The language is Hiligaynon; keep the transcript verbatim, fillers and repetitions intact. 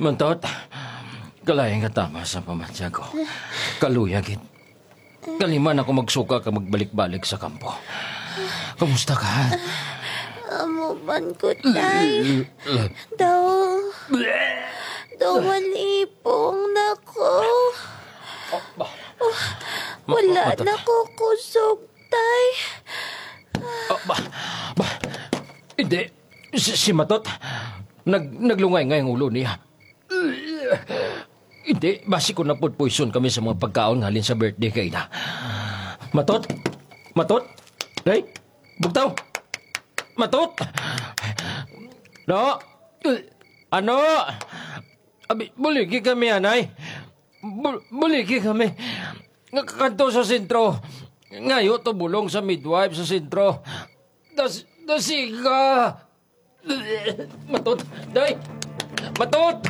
Mantot, kalain nga tama sa pamati ko. Kaluya gid. Kalima na ko magsuka kag magbalik-balik sa kampo. Kumusta ka? Amo man ko, tay. Daw, daw malipong na ko. Oh, ba? Wala Matot. Na ko kusog, tay. Oh, ba? Ba? Hindi. Si, si Matot, nag, naglungay nga ang ulo niya. Hindi, basi ko napod poison kami sa mga pagkaon nga halin sa birthday kay na. Matot? Matot? Hey? Bugtaw? Matot? No? Ano? Abi, buligi kami, anay. Bul- buligi kami. Nga kanto sa sentro. Ngayo to bulong sa midwife sa sentro. Das, dasiga. Matot, day. Matot.